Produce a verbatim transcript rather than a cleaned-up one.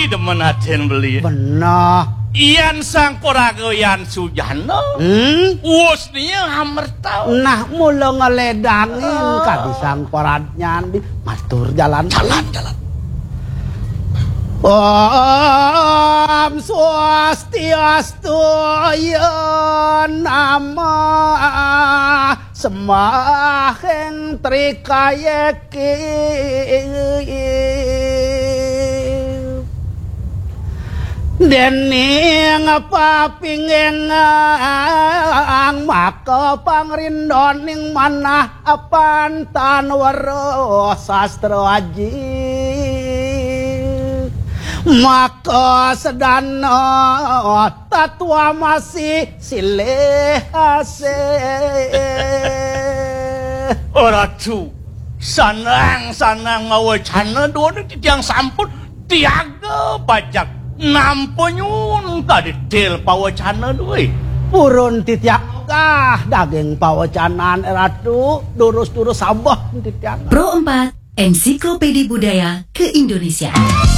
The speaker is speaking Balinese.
Demen atin beli. Beneh. Yan sang paraga yan sujana. Hmm? Wus nia amerta. Nah, mula ngeledangin kadi sang paradnyan di matur jalan. Jalan, jalan. Om Swastiastu, ya nama sembahing trikayeki. Dening papinggang maka pangrindoning manah apantan weruh sastra aji. Maka sedana tatwa masih silih asih. Oh, Ratu, sanang-sanang ngawacana duwene titiang sampun tiaga pajak nampa nyuwun kadi til pawacana duwe. Purun titiang ogah daging pawacanan, Ratu, durus-durus sabeh titiang. Pro empat, Ensiklopedi Budaya Keindonesiaan.